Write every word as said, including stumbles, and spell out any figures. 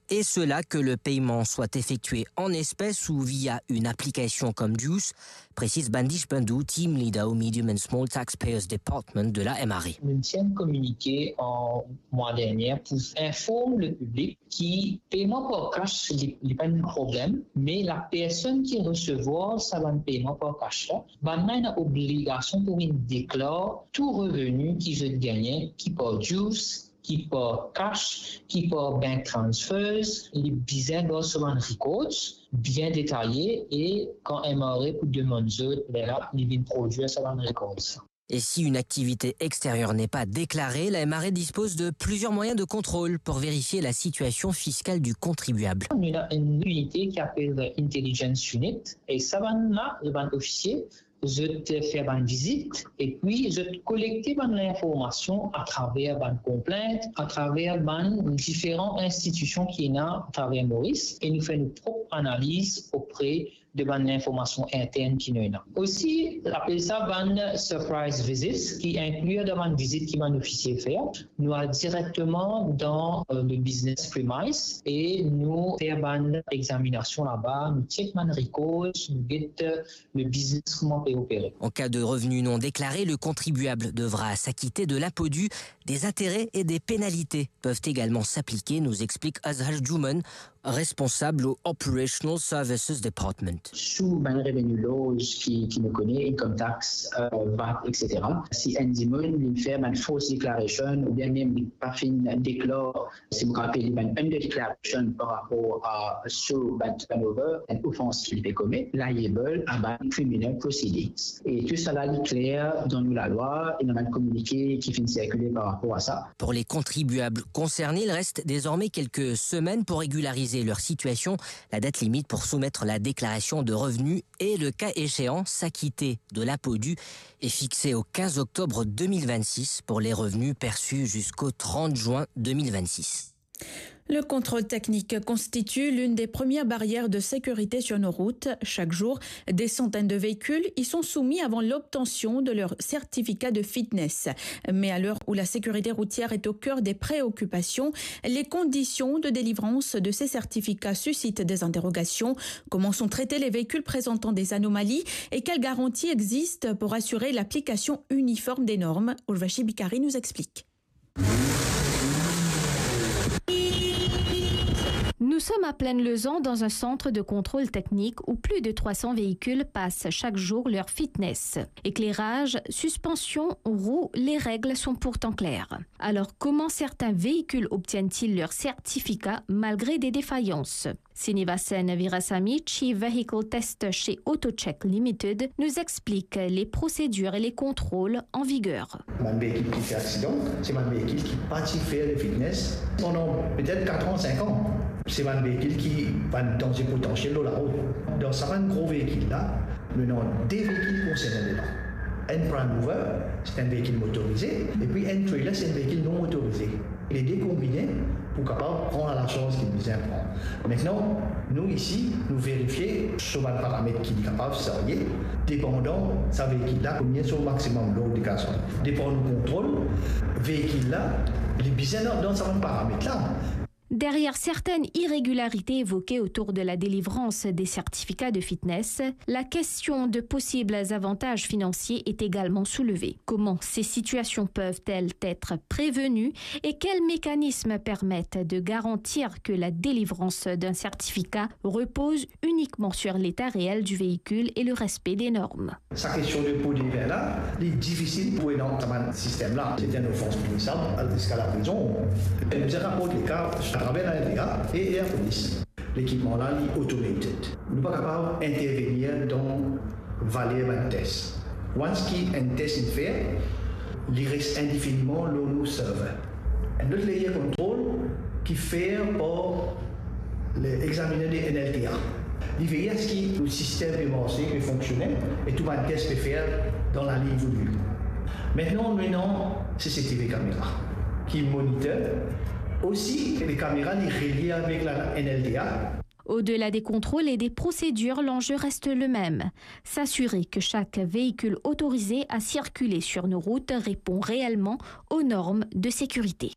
et cela que le paiement soit effectué en espèces ou via une application comme Juice, précise Bandish Bandhu, team leader au Medium and Small Taxpayers Department de la M R A. Nou ti enn kominike an mwa dernie pou inform le piblik ki peyman par kas, li, li pa enn problem, me lapersonn ki resevwar sa bann peyman par kas la, bannla ena obligasion pou vinn deklar tou reveni ki zot gagne, ki par Juice, ki par kas, ki par bank transfers, li bizin gard so bann records bien detaye, e kan M R A pou demann zot, lerla li vinn prodwir sa bann records. Et si une activité extérieure n'est pas déclarée, la M R A dispose de plusieurs moyens de contrôle pour vérifier la situation fiscale du contribuable. Nou ena enn inite ki apel Intelligence Unit, e sa bann la, bann ofisie, zot fer bann vizit, epi zot kolekte bann linformasion atraver bann konplint, atraver bann diferan institision ki ena atraver Moris, e nou fer nou prop analiz opre de bann linformasion intern ki nou ena. Osi, apel sa bann surprise visits, ki inkli dan bann vizit ki bann ofisie fer. Nou al direkteman dan, euh, le business premise e nou fer bann examinasion laba, nou check bann records, nou get, euh, le business kouma pe opere. En cas de revenus non déclarés, le contribuable devra s'acquitter de l'impôt dû. Des intérêts et des pénalités peuvent également s'appliquer, nous explique Azhar Juman, responsable au Operational Services Department. Sou bann reveni laws ki, ki nou kone, income tax, euh, vat, et cetera. Si enn dimoun li fer bann false declaration oubien mem li pa finn deklar, si mo rapel li, bann underdeclaration par rapor a so bann turnover, enn ofans ki li pe komet, liable a bann criminal proceedings. E tou sala li kler dan nou lalwa, ena bann kominike ki finn sirkile par rapor a sa. Pour les contribuables concernés, il reste désormais quelques semaines pour régulariser leur situation. La date limite pour soumettre la déclaration de revenus et, le cas échéant, s'acquitter de l'impôt dû est fixée au quinze octobre deux mille vingt-six pour les revenus perçus jusqu'au trente juin deux mille vingt-six. Le contrôle technique constitue l'une des premières barrières de sécurité sur nos routes. Chaque jour, des centaines de véhicules y sont soumis avant l'obtention de leur certificat de fitness. Mais à l'heure où la sécurité routière est au cœur des préoccupations, les conditions de délivrance de ces certificats suscitent des interrogations. Comment sont traités les véhicules présentant des anomalies et quelles garanties existent pour assurer l'application uniforme des normes ? Urvashi Bikari nous explique. Nous sommes à Plaine-Lezan dans un centre de contrôle technique où plus de trois cents véhicules passent chaque jour leur fitness. Éclairage, suspension, roues, les règles sont pourtant claires. Alors, comment certains véhicules obtiennent-ils leur certificat malgré des défaillances ? Srinivasan Veerasamy, Chief Vehicle Tester chez AutoCheck Limited, nous explique les procédures et les contrôles en vigueur. Bann veikil ki fer aksidan, se bann veikil ki pa ti fer le fitness pandan petet kat an, sink an. Se bann veikil ki bann danze potansiel lor larout. Dan sa bann gro veikil la, nou ena de veikil konserne dedan. Enn prime mover, se enn veikil motorize, epi enn trailer, se enn veikil non motorize. Lede konbine pou kapav pran lasarz ki bizin pran. Aster, nou isi, nou verifie so bann paramet ki li kapav serye, depandan sa veikil la konbien so maximum load li kapav serye. Depandan nou kontrol, veikil la, li bizin dan, dan sa bann paramet la. Derrière certaines irrégularités évoquées autour de la délivrance des certificats de fitness, la question de possibles avantages financiers est également soulevée. Comment ces situations peuvent-elles être prévenues et quels mécanismes permettent de garantir que la délivrance d'un certificat repose uniquement sur l'état réel du véhicule et le respect des normes ? Sa kestion de po de vin la, li difisil pou ena sa bann sistem la. Se enn ofans pinisab, al ziska laprizon. Nou bizin raport le ka atraver la N T A e, e lapolis. Lekipman la, li automated. Nou pa kapav intervenir dan valer bann tes. Once ki enn tes inn fer, li res indefiniman lor nou server. Enn lot layer control ki fer par le examiner de N L T A. Li veye aski nou sistem pe marse, pe fonksione, e tou bann tes pe fer dan laliny voulu. Aster, nou ena C C T V kamera ki monitor. Osi, le kamera, li relie avek la N L T A. Au-delà des contrôles et des procédures, l'enjeu reste le même. S'assurer que chaque véhicule autorisé à circuler sur nos routes répond réellement aux normes de sécurité.